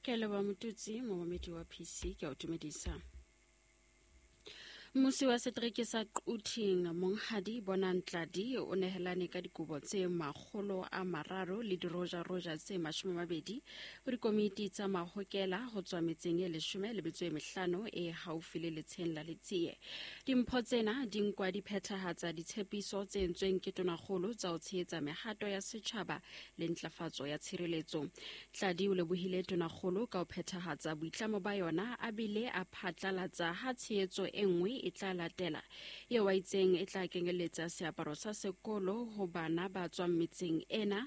Ke leboha Motutsi, momamedi wa PC, ke a o dumedisa. Mmusi wa setereke sa Quthing, Monghadi Bonang Tladi, o nehelane ka dikobo tse 300 le dirojaroja tse 20 ho dikomiti tsa mahokela ho tswa metseng e 15 e haufi le letsheng la Letsie. Dimpho tsena di nkwa di phethahatsa ditshepiso tse entsweng ke tonakgolo tsa ho tshehetsa mehato ya setjhaba le ntlafatso ya tshireletso. Tladi o lebohile tonakgolo ka ho phethahatsa boitlamo ba yona a bile a phatlalatsa ha tshehetso e nngwe e tla latela, eo a itseng e tla kenyeletsa seaparo sa sekolo ho bana ba tswang metseng ena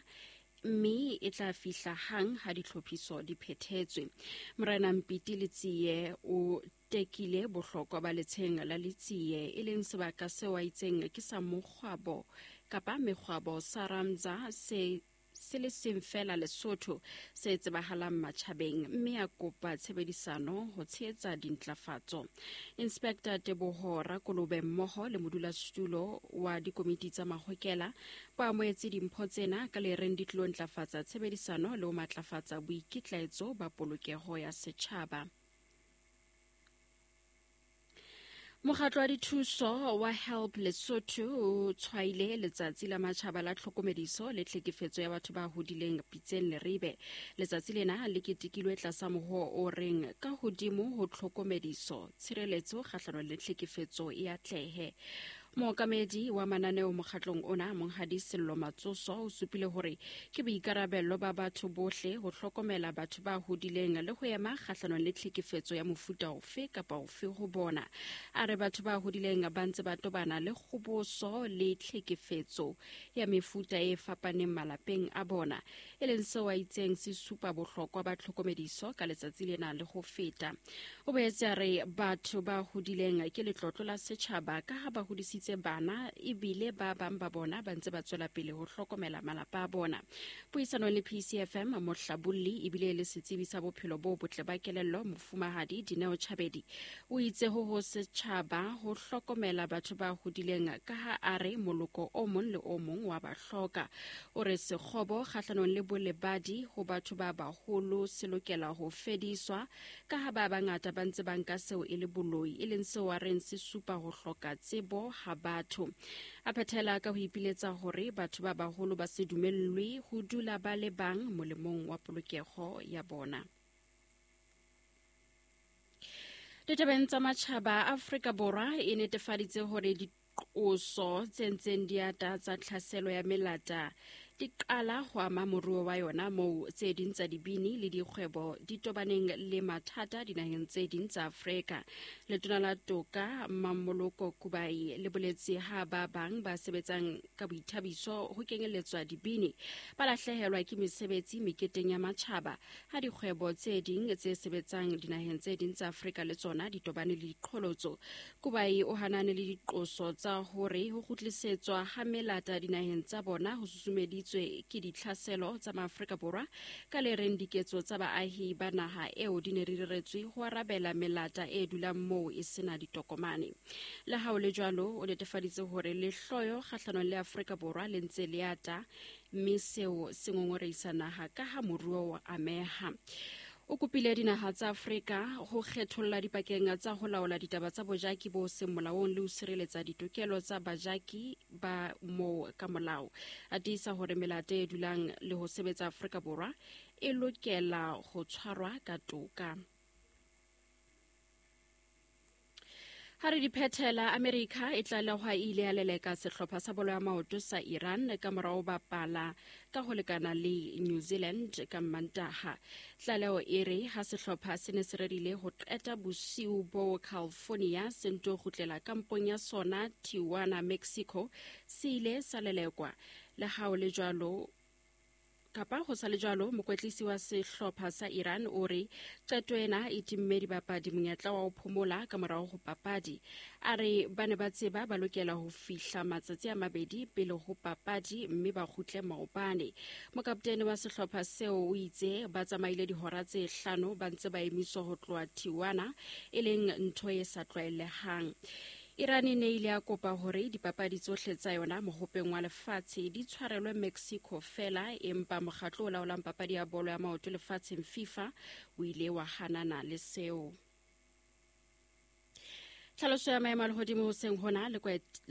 mme e tla fihla hang ha ditlhophiso di phethetswe. Morena Mpiti Letsie o tekile bohlokwa ba letsheng la Letsie, e leng sebaka seo a itseng ke sa mokgwabo kapa mekgwabo sa Ramza se se le seng feela Lesotho se tsebahalang matjhabeng, mme a kopa tshebedisano ho tshehetsa dintlafatso. Inspector Teboho Rakolobe mmoho le modulasetulo wa dikomiti tsa mahokela ba amohetse dimpho tsena ka le reng di tlilo ntlafatsa tshebedisano le ho matlafatsa boikitlaetso ba polokeho ya setjhaba. Mokgatlo wa dithuso wa Help Lesotho o tshwaile letsatsi la matjhaba la tlhokomediso le tlhekefetso ya batho ba hodileng Pitseng Leribe. Letsatsi lena le ketekilwe tlasa mohoo o reng ka hodimo ho tlhokomediso, tshireletso kgahlanong le tlhekefetso e atlehe. Mookamedi wa mananeo mokgatlong ona, Monghadi Sello Matsoso, o supile hore ke boikarabello ba batho bohle ho hlokomela batho ba hodileng le ho ema kgahlanong le tlhekefetso ya mofuta ofe kapa ofe ho bona. A re batho ba hodileng ba ntse ba tobana le kgoboso le tlhekefetso ya mefuta e fapaneng malapeng a bona, e leng seo a itseng se supa bohlokwa ba tlhokomediso ka letsatsi lena le ho feta. O boetse a re batho ba hodileng ke letlotlo la setjhaba ka ha ba hodisitse bana ebile ba bang ba bona ba ntse ba tswela pele ho hlokomela malapa a bona. Puisanong le PCFM, mohlabolli ebile e le setsebi sa bophelo bo botle ba kelello Mofumahadi Dineo Chabedi o itse ho ho setjhaba ho hlokomela batho ba hodileng ka ha a re moloko o mong le o mong wa ba hloka. O re sekgobo kgahlanong le bolebadi ho batho ba baholo se lokela ho fediswa ka ha ba bangata ba ntse ba nka seo e le boloi, e leng seo a reng se supa ho hloka tsebo ha batho. A phethela ka ho ipiletsa hore batho ba baholo ba se dumellwe ho dula ba le bang molemong wa polokeho ya bona. Ditabeng tsa matjhaba, Afrika Borwa e netefaditse hore diqoso tse ntseng di ata tsa tlhaselo ya melata di qala ho ama moruo wa yona, moo tse ding tsa dibini le dikgwebo di tobaneng le mathata dinaheng tse ding tsa Afrika. Letona la Toka Mmamoloko Kubayi le boletse ha ba bang ba sebetsang ka boithabiso ho kenyelletswa dibini ba lahlehelwa ke mesebetsi meketeng ya matjhaba, ha dikgwebo tse ding tse sebetsang dinaheng tse ding tsa Afrika le tsona di tobane le diqholotso. Kubayi o hanane le diqoso tsa hore ho kgutlisetswa ha melata dinaheng tsa bona ho susumeditswe ke ditlhaselo tsa Maafrika Borwa, ka le reng diketso tsa baahi ba naha eo di ne di reretswe ho arabela melata e dulang moo e sena ditokomane. Le ha ho le jwalo, o netefaditse hore lehloyo kgahlanong le Afrika Borwa le ntse le ata, mme seo se ngongoreisa naha ka ha moruo o ameha. O kopile dinaha tsa Afrika ho kgetholla dipakeng tsa ho laola ditaba tsa bojaki bo seng molaong le ho sireletsa ditokelo tsa bajaki ba moo ka molao. A tiisa hore melata e dulang le ho sebetsa Afrika Borwa e lokela ho tshwarwa ka toka. Ha re di phethela, America e tlalehwa e ile ya leleka sehlopha sa bolo ya maoto sa Iran ka mora ho bapala ka ho lekana le New Zealand ka Mmantaha. Tlaleho e re ha sehlopha se ne se rerile ho qeta bosiu bo California se nto kgutlela kampong ya sona Tijuana, Mexico, se ile sa lelekwa. Le ha ho le jwalo, Kapa ho sa le jwalo, mokwetlisi wa sehlopha sa Iran o re qeto ena e timme dibapadi monyetla wa ho phomola ka morao ho papadi. A re ba ne ba tseba ba lokela ho fihla matsatsi a mabedi pele ho papadi mme ba kgutle maobane. Mokaptene wa sehlopha seo o itse ba tsamaile dihora tse hlano ba ntse ba emiswa ho tloha Tijuana, e leng ntho e sa tlwaelehang. Iran e ne ile ya kopa hore dipapadi tsohle tsa yona mohopeng wa lefatshe di tshwarelwe Mexico fela, empa mokgatlo o laolang papadi ya bolo ya maoto lefatsheng FIFA o ile wa hanana le seo. Tlhaloso ya maemo a lehodimo hoseng hona le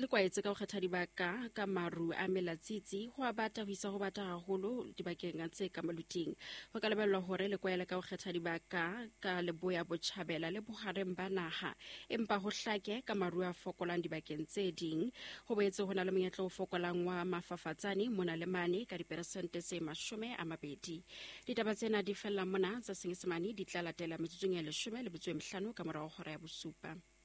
kwaetse ka ho kgetha dibaka ka maru a melatsitsi, ho a bata ho isa ho bata haholo dibakeng tse ka maluting. Ho ka lebellwa hore le kwaele ka ho kgetha dibaka ka leboya botjhabela le bohareng ba naha, empa ho hlake ka maru a fokolang dibakeng tse ding. Ho boetse ho na le monyetla o fokolang wa mafafatsane mona le mane ka diperesente tse 20. Ditaba tsena di fella mona, tsa Senyesemane di tla latela metsotsong ya 15 ka morao hora ya 7.